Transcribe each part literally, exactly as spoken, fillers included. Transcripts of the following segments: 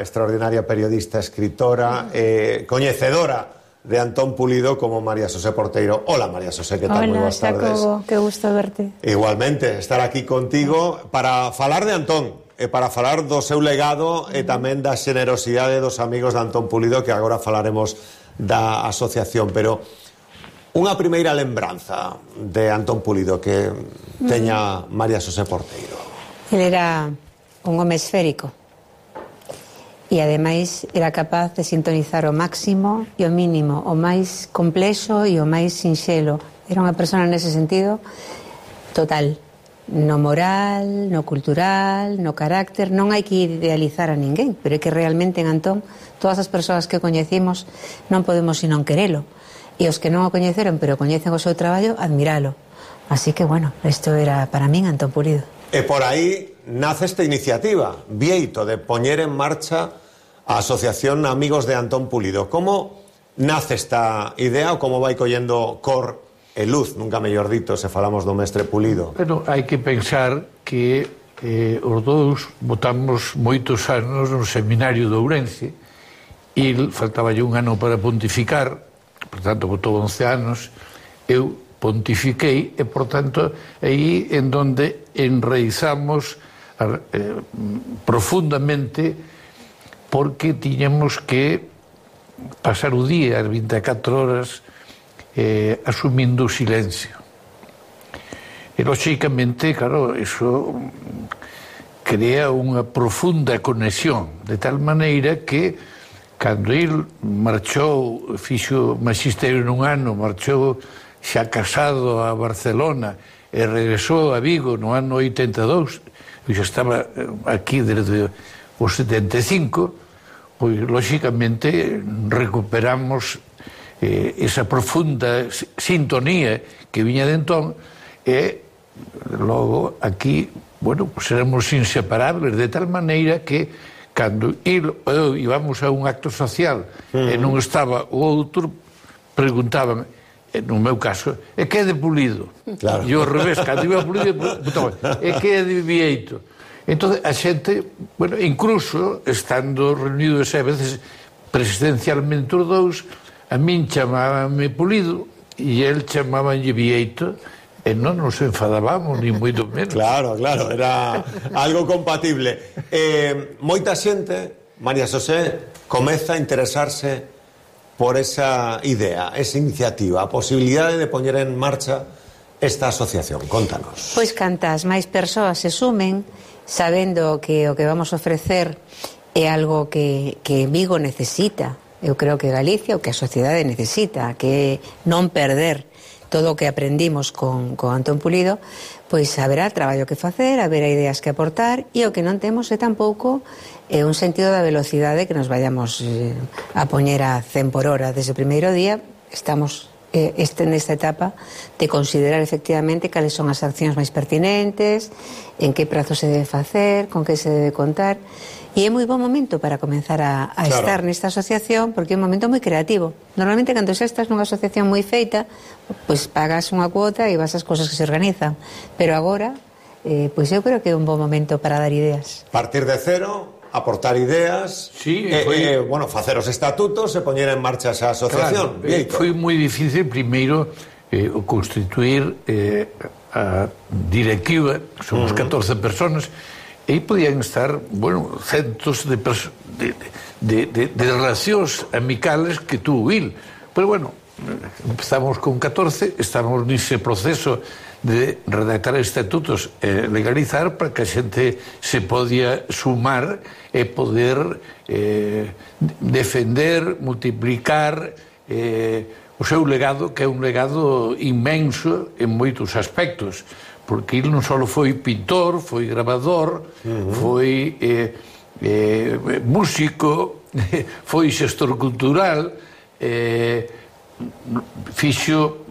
extraordinaria periodista, escritora, eh, coñecedora de Antón Pulido como María Xosé Porteiro. Hola, María Xosé, que tal? Hola, Moi boas tardes. Xacobo, que gusto verte. Igualmente, estar aquí contigo para falar de Antón, e para falar do seu legado e tamén da xenerosidade dos amigos de Antón Pulido, que agora falaremos da asociación. Pero unha primeira lembranza de Antón Pulido que teña María Xosé Porteiro. Ele era un home esférico e ademais era capaz de sintonizar o máximo e o mínimo, o máis complexo e o máis sinxelo. Era unha persona nese sentido total, no moral, no cultural, no carácter. Non hai que idealizar a ninguén, pero é que realmente en Antón todas as persoas que coñecimos non podemos sino querelo, e os que non o coñeceron pero coñecen o seu traballo, admiralo. Así que bueno, isto era para min Antón Pulido. E por aí nace esta iniciativa, Bieito, de poñer en marcha a Asociación Amigos de Antón Pulido. Como nace esta idea ou como vai collendo cor e luz, nunca mellor dito, se falamos do mestre Pulido? Bueno, hai que pensar que eh, os dous votamos moitos anos no seminario de Ourense. Il faltaba un ano para pontificar, por tanto, votou once anos, eu pontifiquei, e, por tanto, aí en donde enraizamos eh, profundamente, porque tiñamos que pasar o día, as vinte e catro horas, eh, asumindo o silencio. E, lóxicamente, claro, eso crea unha profunda conexión, de tal maneira que, cando il marchou, fixo magisterio nun ano, marchou xa casado a Barcelona e regresou a Vigo no ano oitenta e dous, e xa estaba aquí desde o setenta e cinco, pois, lóxicamente, recuperamos eh, esa profunda sintonía que viña de entón, e logo aquí, bueno, pues éramos inseparables, de tal maneira que cando il eu íbamos a un acto social uh-huh. e non estaba o outro, preguntaban, no meu caso, e que é de Pulido? Claro. E ao revés, cando iba a Pulido, e que é de Bieito? Entón, a xente, bueno, incluso, estando reunidos a veces presidencialmente os dous, a min chamábame Pulido e el chamábanlle Bieito, e non nos enfadábamos, ni moito menos. Claro, claro, era algo compatible. Eh, moita xente, María Xosé, comeza a interesarse por esa idea, esa iniciativa, a posibilidade de poñer en marcha esta asociación. Contanos. Pois cantas máis persoas se sumen, sabendo que o que vamos a ofrecer é algo que, que Vigo necesita, eu creo que Galicia, o que a sociedade necesita, que non perder todo o que aprendimos con, con Antón Pulido, pois haberá traballo que facer, haberá ideas que aportar, e o que non temos é tampouco é un sentido da velocidade que nos vayamos eh, a poñer a cen por hora desde o primeiro día. Estamos eh, este, nesta etapa de considerar efectivamente cales son as accións máis pertinentes, en que prazo se debe facer, con que se debe contar, e é moi bom momento para comenzar a, a claro. estar nesta asociación, porque é un momento moi creativo. Normalmente, cando xa estás nunha asociación moi feita, pois pagas unha cuota e vas ás cousas que se organizan, pero agora eh, pois eu creo que é un bom momento para dar ideas. Partir de cero, aportar ideas, sí, e, foi... eh, bueno, facer os estatutos e poñer en marcha esa asociación. Claro, foi moi difícil primeiro eh, constituir eh, a directiva, somos uh-huh. catorce personas, e podían estar, bueno, centos de, de, de, de, de relacións amicales que tuvo il. Pero bueno, empezamos con catorce, estamos nese proceso de redactar estatutos e legalizar para que a xente se podía sumar e poder eh, defender, multiplicar eh, o seu legado, que é un legado inmenso en moitos aspectos, porque ele non só foi pintor, foi grabador, uh-huh. foi eh, eh, músico, foi xestor cultural, eh, fixo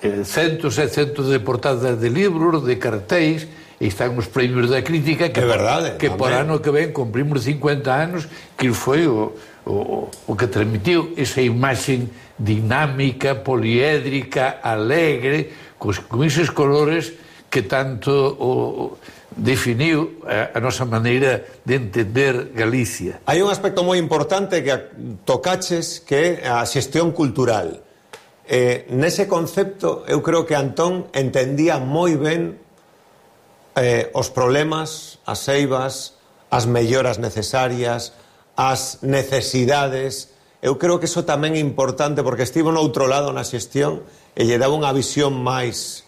eh, centos e centos de portadas de libros, de cartéis, e están os premios da crítica que, verdade, que por ano que ven cumprimos cincuenta anos, que foi o, o, o que transmitiu esa imaxe dinámica, poliédrica, alegre, con, con esos colores que tanto o definiu a, a nosa maneira de entender Galicia. Hai un aspecto moi importante que tocaches, que é a xestión cultural. Eh, nese concepto, eu creo que Antón entendía moi ben eh, os problemas, as eivas, as melloras necesarias, as necesidades. Eu creo que iso tamén é importante, porque estivo no outro lado na xestión e lle daba unha visión máis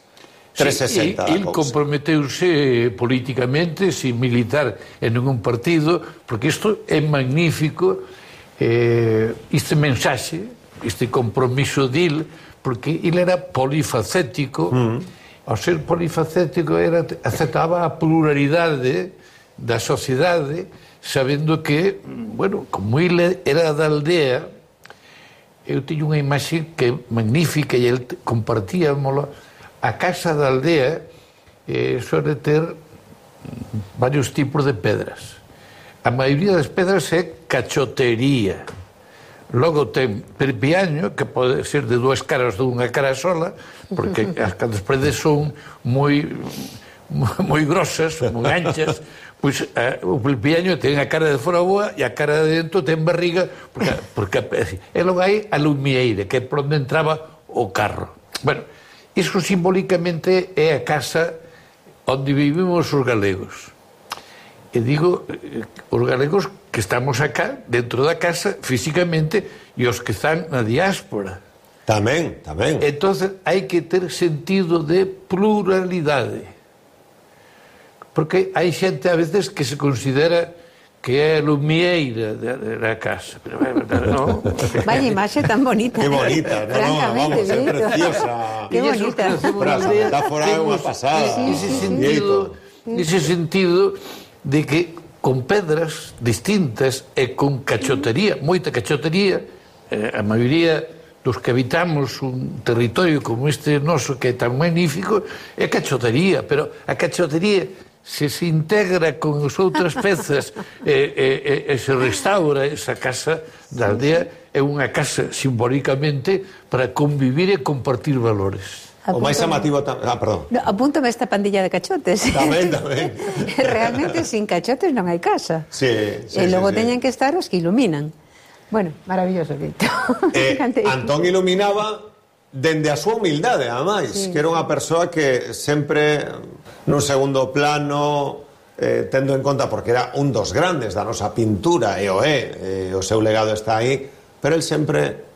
trescentos sesenta sí, da cousa. El comprometeuse políticamente, sin militar en ningún partido, porque isto é magnífico, eh, este mensaxe, este compromiso dil, porque ele era polifacético, mm. ao ser polifacético era, aceptaba a pluralidade da sociedade, sabendo que, bueno, como ele era da aldea, eu teño unha imaxe que é magnífica e ele compartíamolo. A casa da aldea eh, suele ter varios tipos de pedras. A maioría das pedras é cachotería. Logo ten perpiaño, que pode ser de dúas caras ou dunha cara sola, porque as paredes son moi moi grosas, moi anchas, pois eh, o perpiaño ten a cara de fora boa e a cara de dentro ten barriga, porque, porque e logo hai a lumieira, que é por onde entraba o carro. Bueno, iso simbólicamente é a casa onde vivimos os galegos. E digo, os galegos que estamos acá, dentro da casa, físicamente, e os que están na diáspora. Tamén, tamén. Entonces, hai que ter sentido de pluralidade. Porque hai xente, a veces, que se considera que é a lumieira da casa. Pero, no. Vaya imaxe tan bonita. Que bonita, no, no, vamos, é preciosa. Que bonita. Pero a metáfora é unha pasada. Ese sentido, ese sentido de que con pedras distintas e con cachotería, moita cachotería, eh, a maioría dos que habitamos un territorio como este noso, que é tan magnífico, é cachotería, pero a cachotería se se integra con as outras pezas e, e, e se restaura esa casa da aldea, é unha casa simbólicamente para convivir e compartir valores. O máis amativo... Ah, perdón. No, apúntame esta pandilla de cachotes. Tamén, tamén. Realmente, sin cachotes non hai casa. Sí, sí, e logo sí, teñen sí. que estar os que iluminan. Bueno, maravilloso, Víctor. Eh, Antón iluminaba dende a súa humildade, ademais, sí. Que era unha persoa que sempre nun segundo plano, eh, tendo en conta, porque era un dos grandes da nosa pintura, e o é, eh, o seu legado está aí, pero el sempre...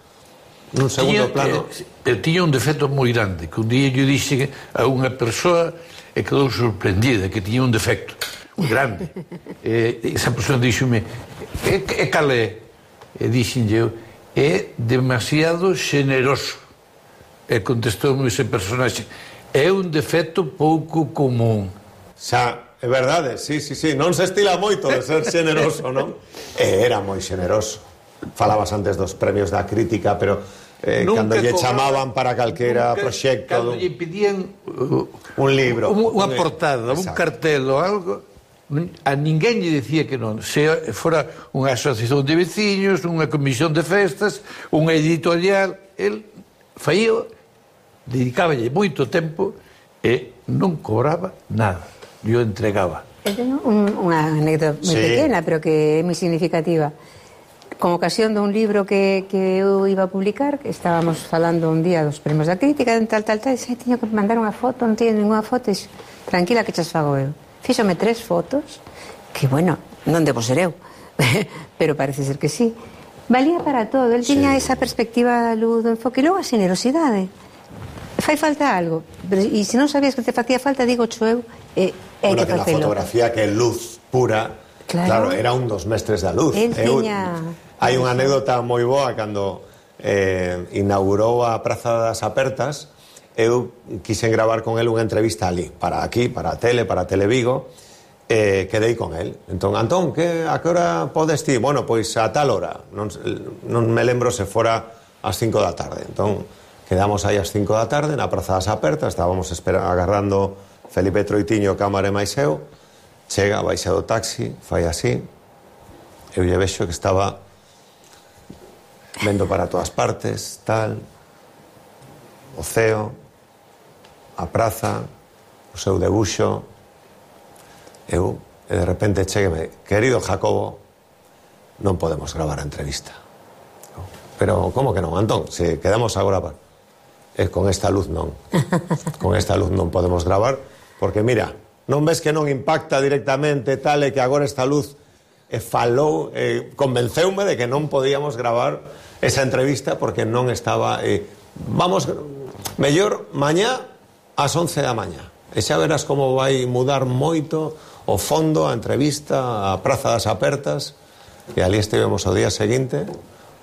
nun segundo plano. Eu tiña un defecto moi grande, que un día eu dixe a unha persoa e quedou sorprendida que tiña un defecto moi grande. E esa persoa díxome, e, e cal é? E dixen eu, é demasiado xeneroso. E contestou-me ese personaxe, é un defecto pouco común. Xa, é verdade, sí, sí, sí, non se estila moito de ser xeneroso, non? E era moi xeneroso. Falabas antes dos premios da crítica, pero eh, cando lle chamaban para calquera nunca, proxecto... Cando lle pedían uh, un libro... Un, unha portada, un cartel ou algo, a ninguén lle decía que non. Se fora unha asociación de veciños, unha comisión de festas, unha editorial, el faía, dedicáballe moito tempo e non cobraba nada. Eu entregaba. Eu teño un, unha anécdota moi sí. pequena, pero que é moi significativa. Con ocasión dun libro que, que eu iba a publicar, que estábamos falando un día dos premios da crítica, tal, tal, tal, e disse, teño que mandar unha foto, non teño ninguna foto, e disse, tranquila que chas fago eu. Fíxome tres fotos, que, bueno, non debo ser eu, pero parece ser que sí. Valía para todo, el tiña sí. esa perspectiva luz do enfoque, e logo a generosidade. Fai falta algo, e se non sabías que te facía falta, digo cho eu, e hai bueno, que facelo. Bueno, que na fotografía que é luz pura, claro, claro era un dos mestres da luz. El tiña... Hai unha anécdota moi boa cando eh, inaugurou a Praza das Apertas. Eu quixen gravar con el unha entrevista ali, para aquí, para a tele, para Televigo, e eh, quedei con el. Entón, Antón, que, a que hora podes ti? Bueno, pois a tal hora. Non, non me lembro se fora ás cinco da tarde. Entón, quedamos aí ás cinco da tarde na Praza das Apertas, estábamos espera, agarrando Felipe Troitiño, cámara e máis eu. Chega, baixa do taxi, fai así. Eu lle vexo que estaba vendo para todas partes, tal, o ceo, a praza, o seu debuxo, eu, e de repente chegueme, querido Jacobo, non podemos gravar a entrevista. Pero, como que non, Antón? Se quedamos agora pa... E con esta luz non. Con esta luz non podemos gravar, porque mira, non ves que non impacta directamente tal e que agora esta luz e falou, e convenceume de que non podíamos gravar esa entrevista porque non estaba... E, vamos, mellor mañá ás once da mañá. E xa verás como vai mudar moito o fondo, a entrevista, a Praza das Apertas, e ali estivemos o día seguinte...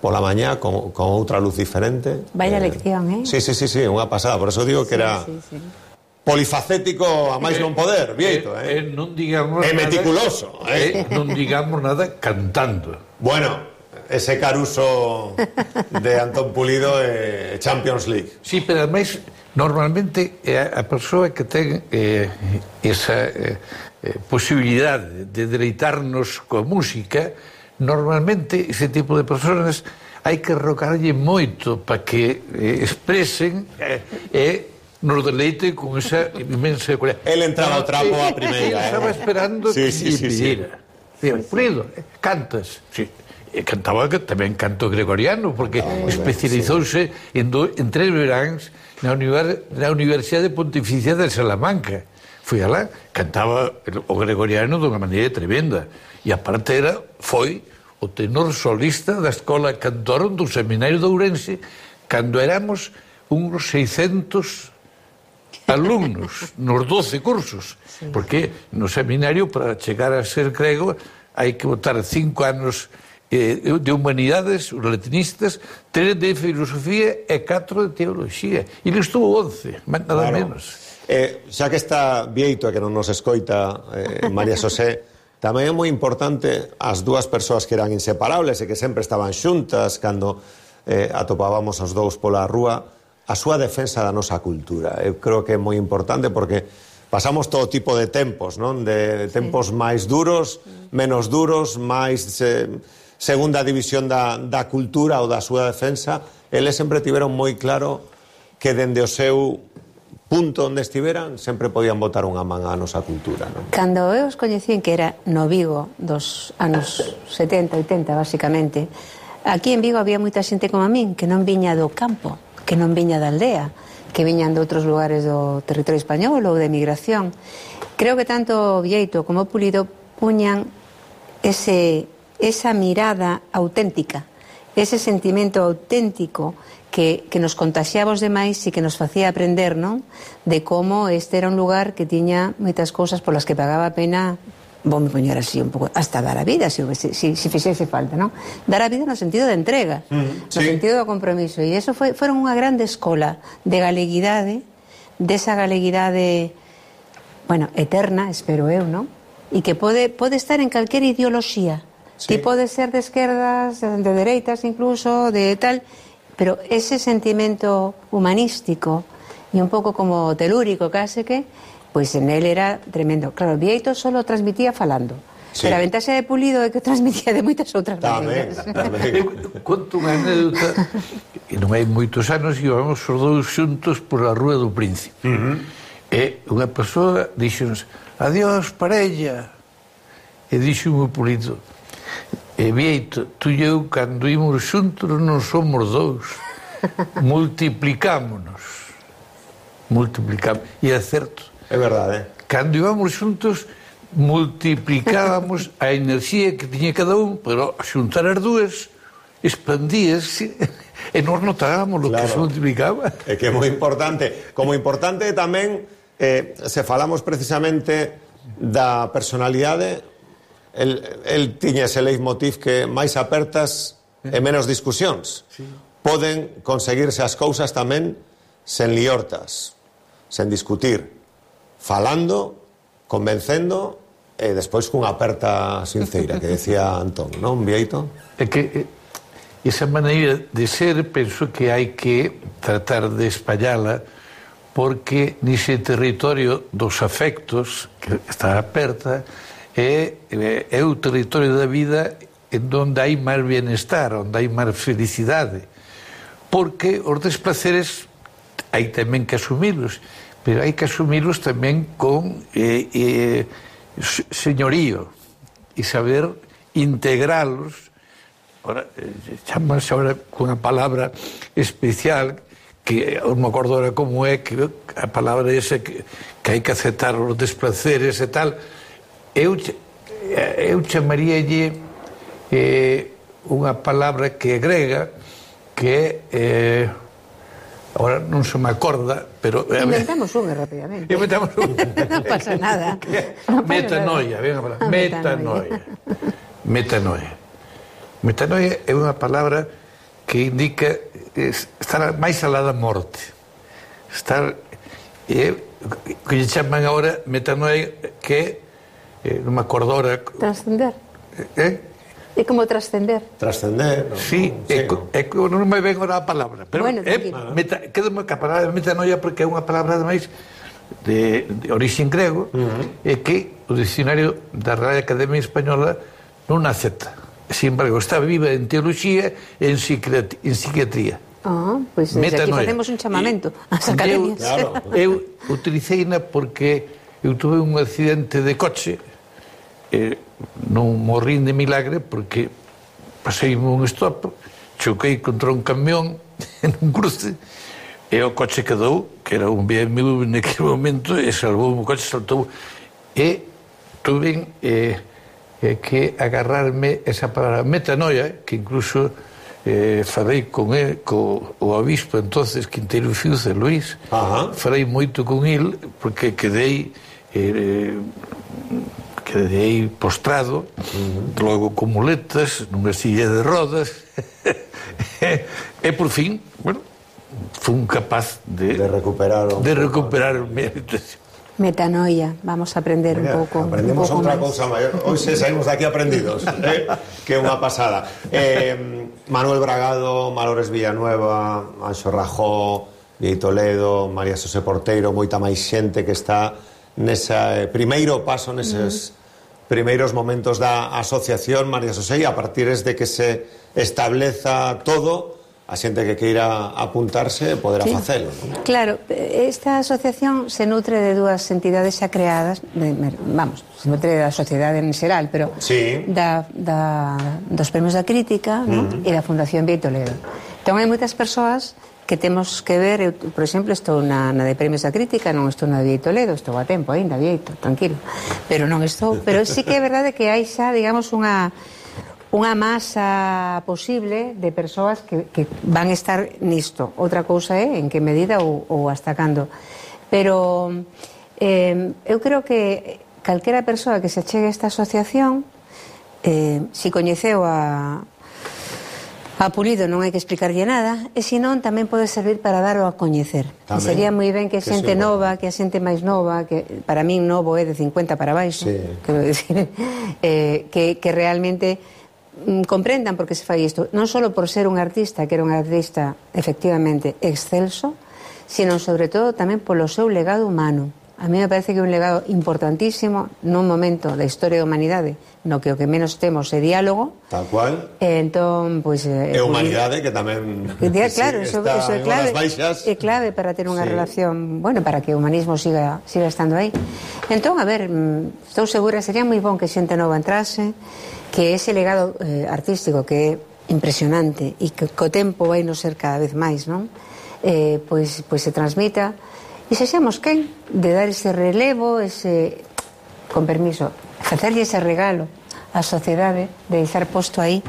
pola mañá con, con outra luz diferente. Vaya eh, lección, eh? Sí, sí, sí, sí, unha pasada. Por eso digo que era sí, sí, sí. polifacético a máis non poder, Bieito, eh? eh, eh non digamos e meticuloso, nada, eh? eh? Non digamos nada cantando. Bueno, ese Caruso de Antón Pulido é eh, Champions League. Sí, pero ademais, normalmente a persoa que ten eh, esa eh, posibilidade de deleitarnos coa música, normalmente ese tipo de personas hai que rocarlle moito para que eh, expresen e eh, eh, nos deleite con esa inmensa cualidade. El entraba ao trapo a primeira. Eh, estaba esperando sí, que sí, lle sí, pidiera. Sí. Pulido, eh, cantas? Sí. E cantaba que tamén canto gregoriano, porque ah, especializouse sí. en, do, en tres veráns na, univers, na Universidade Pontificia de Salamanca. Fui alá, cantaba o gregoriano dunha maneira tremenda. E aparte era, foi o tenor solista da Escola Cantorum do Seminario de Ourense cando éramos uns seiscentos alumnos nos doce cursos, sí. Porque no seminario, para chegar a ser grego, hai que botar cinco anos eh, de humanidades, os latinistas, tres de filosofía e catro de teoloxía. E ele estuvo once, nada claro. menos. Eh, xa que está Bieito e que non nos escoita eh, María Xosé, tamén é moi importante as dúas persoas que eran inseparables e que sempre estaban xuntas cando eh, atopábamos os dous pola rúa, a súa defensa da nosa cultura. Eu creo que é moi importante porque pasamos todo tipo de tempos, non? De tempos sí. máis duros, menos duros, máis eh, segunda división da, da cultura ou da súa defensa. Eles sempre tiveron moi claro que dende o seu punto onde estiveran, sempre podían botar unha man á nosa cultura, non? Cando eu os coñecín, que era no Vigo dos anos setenta, oitenta, basicamente, aquí en Vigo había moita xente como a min, que non viña do campo, que non viña da aldea, que viñan de outros lugares do territorio español ou de emigración. Creo que tanto Bieito como Pulido puñan ese, esa mirada auténtica, ese sentimento auténtico que, que nos contaxiaba os demais e que nos facía aprender, non? De como este era un lugar que tiña moitas cousas polas que pagaba a pena, vou me poñer así un pouco, hasta dar a vida, se, se, se fixese falta, non? Dar a vida no sentido de entrega, mm, no sí. sentido do compromiso. E iso foi, foron unha grande escola de galeguidade, desa galeguidade, bueno, eterna, espero eu, non? E que pode, pode estar en calquer ideoloxía. Sí. Ti pode ser de esquerdas, de dereitas incluso, de tal... Pero ese sentimento humanístico e un pouco como telúrico case que, pois en él era tremendo. Claro, Bieito solo transmitía falando, sí. Pero a ventaxa de Pulido é que transmitía de moitas outras maneiras. Eu conto unha anécdota, e non hai moitos anos íbamos os dous xuntos por a Rúa do Príncipe. Uh-huh. E unha persoa dixonos, adiós parella, e dixo-me Pulido, e Bieito, tú e eu, cando imos xuntos, non somos dous. Multiplicámonos. Multiplicámonos. E é certo. É verdade. Cando íbamos xuntos, multiplicábamos a enerxía que tiña cada un, pero a xuntar as dúas, expandíase, e nos notábamos o claro. que se multiplicaba. É que é moi importante. Como importante tamén, eh, se falamos precisamente da personalidade... El, el tiña ese leitmotiv que máis apertas e menos discusións. Sí. Poden conseguirse as cousas tamén sen liortas, sen discutir, falando, convencendo e despois cunha aperta sinceira, que decía Antón, non, Bieito? É que esa maneira de ser, penso que hai que tratar de espallala, porque nese territorio dos afectos, que está aperta, É, é o territorio da vida en donde hai máis bienestar, onde hai máis felicidade, porque os desplaceres hai tamén que asumilos, pero hai que asumirlos tamén con eh, eh, señorío e saber integralos. Ahora, eh, chamas ahora cunha palabra especial que non me acordo ahora como é, que a palabra esa que, que hai que aceptar os desplaceres e tal. Eu, eu chamaríalle eh, unha palabra que é grega, que é eh, ahora non se me acorda, pero inventamos unha rapidamente. Inventamos unha. Non pasa nada. No pasa metanoia, nada. Venga, ah, metanoia. Metanoia. Metanoia é unha palabra que indica estar máis alá da morte. Estar eh, que lle chaman agora metanoia, que eh, non me acordo ahora. Trascender. Eh? É como trascender. Trascender, no? Sí, é, é, é, non me ven agora a palabra, pero bueno, é, meta, quedame que a palabra metanoia porque é unha palabra ademais de, de orixen grego, uh-huh. e que o dicionario da Real Academia Española non acepta. Sin embargo, está viva en teoloxía e en psiquiatría. En psiquiatría. Ah, pois pues aquí facemos un chamamento ás academias. Eu, claro. eu utilicei-na porque eu tuve un accidente de coche, eh, non morrín de milagre porque pasei un stop, choquei contra un camión en un cruce e o coche quedou, que era un B M W naquele momento, e salvou o coche, saltou, e tuve eh, eh, que agarrarme esa palabra metanoia, que incluso eh, falei con el, co o obispo entonces Quinteiro Fiuza, Luís. Ajá. Falei moito con el porque quedei eh, quedei postrado, uh-huh. logo con muletas, nunha silla de rodas, e por fin, bueno, fun capaz de, de recuperar o de recuperar o mérito. Metanoia, vamos a aprender Mira, un pouco. Aprendemos un pouco outra máis. cousa maior. Hoxe saímos daqui aprendidos, eh? Que é unha pasada. Eh, Manuel Bragado, Malores Villanueva, Anxo Rajó, Viei Toledo, María Xosé Porteiro, moita máis xente que está nese primeiro paso, neses uh-huh. primeiros momentos da asociación, María Xosé, e a partir de que se estableza todo, a xente que queira apuntarse poderá sí. facelo, non? Claro, esta asociación se nutre de dúas entidades xa creadas, de, vamos, se nutre da sociedade en xeral, pero sí. da, da, dos premios da crítica, uh-huh. ¿no? E da Fundación Viei Toledo. Entón hai moitas persoas que temos que ver, eu, por exemplo, estou na, na de premios da crítica, non estou na de Viei Toledo, estou a tempo ainda, Vieito, tranquilo, pero non estou, pero sí que é verdade que hai xa, digamos, unha unha masa posible de persoas que, que van estar nisto. Outra cousa é en que medida ou, ou hasta cando. Pero eh, eu creo que calquera persoa que se achegue a esta asociación, eh, si coñeceu a A Pulido non hai que explicarlle nada, e senón tamén pode servir para darlo a coñecer. E sería moi ben que xente nova, que a xente máis nova, que para min novo é de cincuenta para baixo, sí. quero decir, eh, que, que realmente mm, comprendan por que se fai isto, non só por ser un artista, que era un artista efectivamente excelso, sino sobre todo tamén polo seu legado humano. A mí me parece que é un legado importantísimo nun momento da historia da humanidade no que o que menos temos é diálogo. Tal cual. E entón, pois... É humanidade que tamén... Claro, sí, eso, eso é clave. É clave para ter unha sí. relación... Bueno, para que o humanismo siga, siga estando aí. Entón, a ver, estou segura, sería moi bon que xente nova entrase, que ese legado eh, artístico que é impresionante e que co tempo vai nos ser cada vez máis, non? Eh, pois, pois se transmita... E sexamos quen de dar ese relevo, ese, con permiso, facerlle ese regalo á sociedade, de deixar posto aí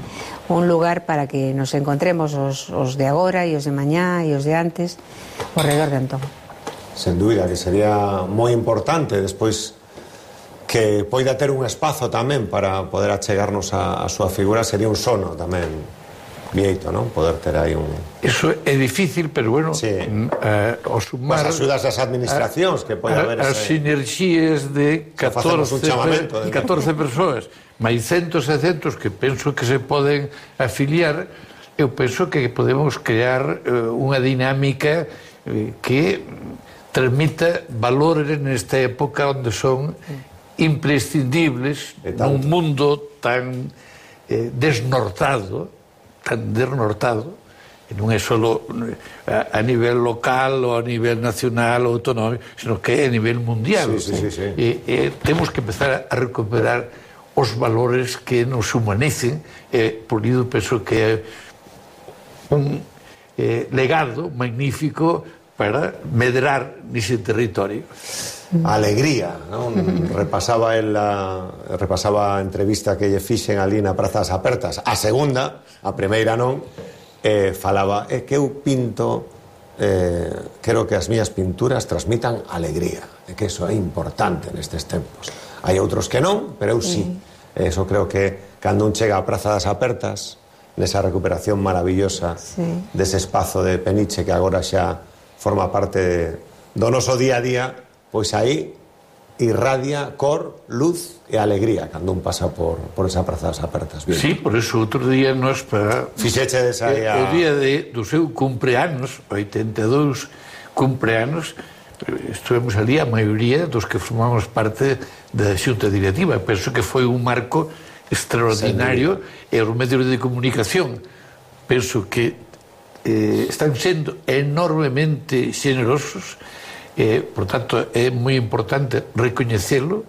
un lugar para que nos encontremos os, os de agora e os de mañá e os de antes ao redor de Antón. Sen dúbida, que sería moi importante despois que poida ter un espazo tamén para poder achegarnos a, a súa figura, sería un sono tamén Vieito, non? Poder ter aí un... Eso é difícil, pero bueno, sí. uh, o sumar... As axudas das administracións, que pode haber as ese... sinerxías de catorce, de... catorce persoas, máis centos e centos que penso que se poden afiliar, eu penso que podemos crear uh, unha dinámica uh, que transmita valores nesta época onde son imprescindibles nun mundo tan eh, desnortado, tan desnortado, non é só a, a nivel local ou a nivel nacional ou autonómico, sino que é a nivel mundial. Sí, sí, sí, sí. E, e temos que empezar a recuperar os valores que nos humanicen, e por iso penso que é un eh, legado magnífico para medrar nese territorio. Alegría, non? Repasaba el la, repasaba a entrevista que lle fixen ali na Prazas Apertas, a segunda, a primeira non, eh, falaba, é que eu pinto, eh, quero que as mías pinturas transmitan alegría, e que eso é importante nestes tempos. Hai outros que non, pero eu sí. Eso creo que cando un chega a Praza das Apertas, nesa recuperación maravillosa sí. dese espazo de Peniche que agora xa forma parte de, do noso día a día, pois aí irradia cor, luz e alegría cando un pasa por, por esa Praza das Apertas. Bien. Sí, por eso outro día nos para... Fixeche desa aí a... O día de, do seu cumpleanos, oitenta e dous cumpleanos, estivemos ali a maioría dos que formamos parte da xunta directiva. Penso que foi un marco extraordinario e os medios de comunicación penso que eh, están sendo enormemente xenerosos, eh, por tanto é moi importante recoñecelo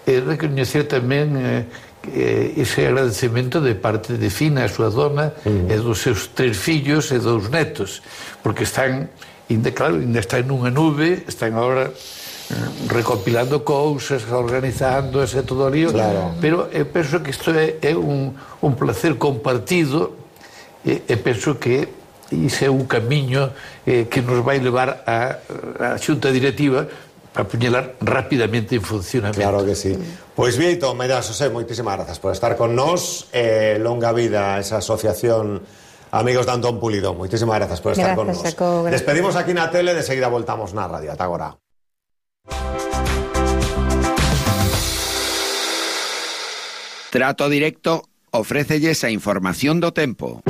e recoñecer tamén eh, ese agradecemento de parte de Fina, a súa dona, uh-huh. e dos seus tres fillos e dous netos, porque están ainda, claro, ainda están nunha nube, están agora recopilando cousas, organizando ese todo lío, claro. Pero eu penso que isto é, é un, un placer compartido e, e penso que iso é un camiño eh, que nos vai levar a, a xunta directiva para poñela rapidamente en funcionamento. Claro que sí. Pois Vieito, Maida Xosé, moitísimas grazas por estar con nós, eh, longa vida a esa asociación Amigos de Antón Pulido, moitísimas grazas por estar con nós. Despedimos aquí na tele, de seguida voltamos na radio. Ata agora. Trato Directo ofrécelles a información do tempo.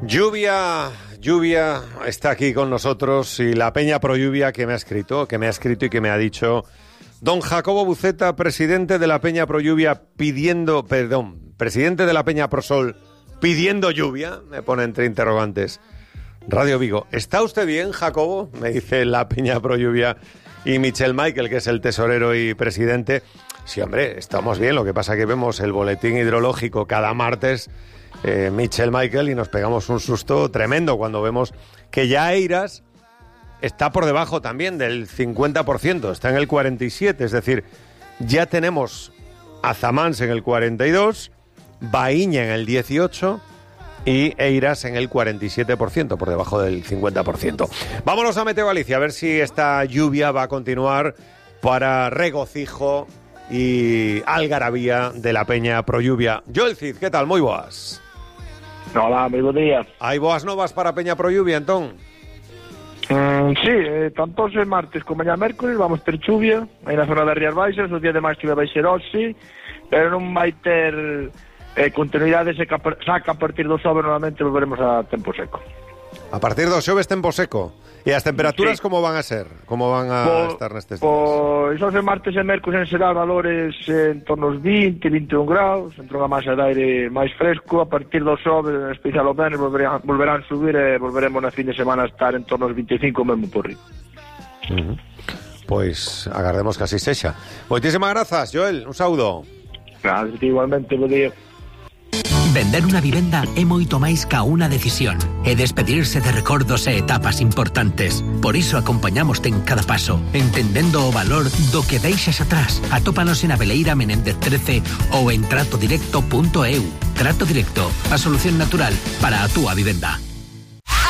Lluvia, lluvia está aquí con nosotros y la Peña Pro Lluvia que me ha escrito, que me ha escrito y que me ha dicho don Jacobo Buceta, presidente de la Peña Pro Lluvia pidiendo, perdón, presidente de la Peña Pro Sol pidiendo lluvia, me pone entre interrogantes. Radio Vigo, ¿está usted bien, Jacobo? Me dice la Peña Pro Lluvia y Michel Michael, que es el tesorero y presidente. Sí, hombre, estamos bien, lo que pasa es que vemos el boletín hidrológico cada martes, eh, Michel Michael, y nos pegamos un susto tremendo cuando vemos que ya Eiras está por debajo también del cincuenta por ciento, está en el cuarenta y siete por ciento, es decir, ya tenemos a Zamans en el cuarenta y dos por ciento, Baíña en el dieciocho por ciento, y Eiras en el cuarenta y siete por ciento, por debajo del cincuenta por ciento. Vámonos a Meteo Galicia, a ver si esta lluvia va a continuar para regocijo y algarabía de la Peña Pro Lluvia. Joel Cid, ¿qué tal? Moi boas. Hola, moi bo día. Hai boas novas para Peña Pro Lluvia, entón? Mm, sí, eh, tanto o martes como mañá mércoles vamos ter chuvia aí na zona das Rías Baixas, os días de máis chuvia vai ser hoxe, pero non vai ter... Eh, continuidade, se saca a partir do xoves, normalmente volveremos a tempo seco. A partir do xoves tempo seco. E as temperaturas sí. como van a ser? Como van a po, estar nestes días? Pois os martes e mércoles será valores en torno aos vinte, vinte e un graus, entre unha masa de aire máis fresco. A partir do xoves, en especial o venres, volverán, volverán subir e volveremos na fin de semana a estar en torno aos vinte e cinco mesmo por riba. Uh-huh. Pois agardemos que así sexa. Moitísimas grazas, Joel, un saúdo. Gracias, igualmente, bo día. Vender unha vivenda é moito máis ca unha decisión. É despedirse de recordos e etapas importantes. Por iso acompañamoste en cada paso, entendendo o valor do que deixas atrás. Atópanos en Abeleira Menéndez trece ou en trato directo punto eu. Trato Directo, a solución natural para a túa vivenda.